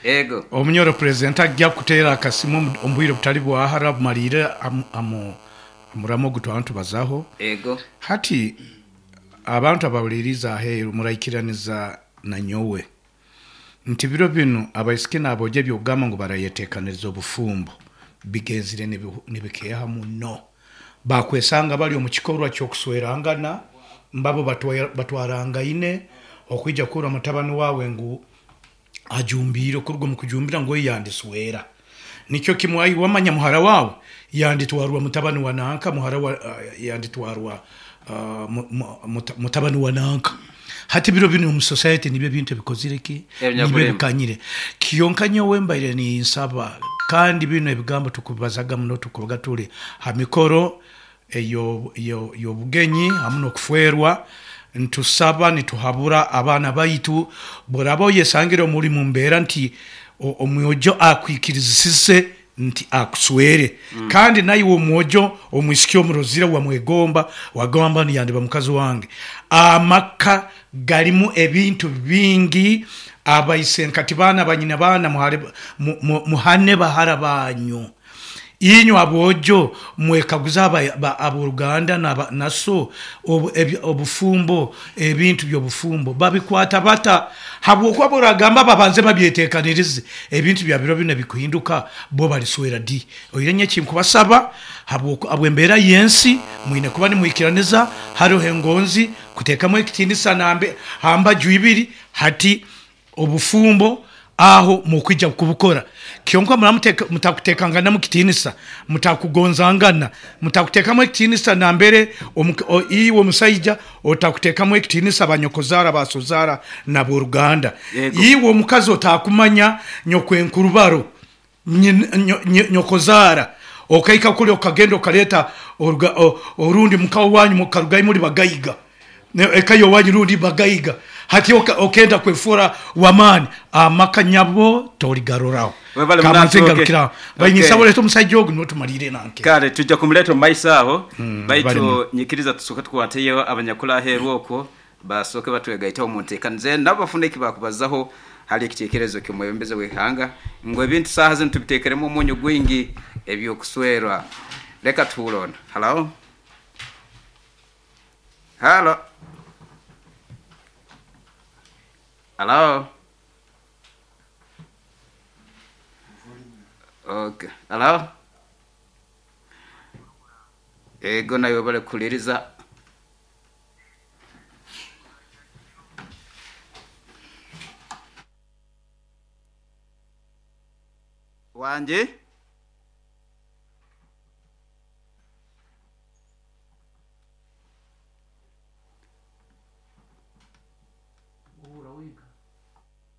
Ego. Omunyoro Purezidenti agya kuteera akasimu omu bwire obutari bwa hara bumariire aha muramwa ogu twaba nitubazaho. Ego. Hati abantu abahuriiriize aheeru muraikiraniza na nyowe nti biro binu abaisiki n'aboojo eby'okugamba ngu barayeteekaniriza obufumbo bigenzire nibikeeha muno. Baakwesanga bari omu kikorwa ky'okuswerangana mbabo batwarangaine okwija kuhurra mutabani waawe ngu ajumbiire okuruga omu kujumbira ngu oyo yandiswera. Nikyo kimwe ai wamanya muhara waawe yanditwarwa mutabani wa nanka, muhara wa yanditwarwa mutabani wa nanka. Hati biro binu omu society nibyo ebintu ebikozire ki? Nibyo ebikanyire. Kyonka nyowe mbaire ninsaba kandi binu ebigambo tukubibazaga muno tukubaga turi ha mikoro ey'obugenyi hamu n'okufwerwa, nitusaba nituhabura abaana baitu, bworaba oyesangire omu ori mumbeera nti omwojo akwikirizisize nti akuswere kandi naiwe omwojo omwisiki omurozire wamwegomba wagamba ngu yandiba mukazi wange, amaka garimu ebintu bingi, abaisenkati baana banyina baana muhane bahara banyu. Inywe aboojo mwekaguze ab'oruganda na so obufumbo, ebintu by'obufumbo babikwata bata? Habwokuba bw'oragamba babanze babyetekanirize, ebintu bya biro binu ebikuhinduka bo baliswera di? Oihireho nyowe ekinkubasaba, habw'embeera y'ensi, mwine kuba nimwikiraniza, haroho engonzi, kuteekamu ekitiinisa ha mbaju ibiri. Hati Obufumbo aho mukwija kubukora. Kyonka muraba mutakutekanganamu kitiinisa, mutakugonzangana, mutakutekamu ekitiinisa nambere iwe omusaija otakutekamu ekitiinisa banyokozaara, basozaara nab'oruganda. Iwe omukazi otakumanya nyokwenkurubaro, nyokozaara, okaika kuli okagenda okaleeta orundi muka owanyu mukarugayo muri bagaiga. Eka y'owanyu rundi bagaiga. Hati okenda kwefoora w'amaani, amaka nyabo torigaroraho. Webale muno Kamanze Atooke. ngarukire aho. Okay. Ninsaba oleete omusaija ogu niwe tumariire nanke. Kare twija kumuleeta omu maiso aho, Webale baitu muno. nyikiriza tusooke tukwateyo abanyakuli aheeru okwo basooke batwegaiteho omu nteekaniza enu nabo bafune eki baakubazaho hali ekiteekerezo ky'omwebembezi w'eihanga ngu ebintu saaha zinu tubiteekeremu omunyu gwingi eby'okuswerwa. Leka tuhuure onu. Halo? Halo? Halo? Okay. Halo? Ego naiwe webale kuhuliiriza. Wangi?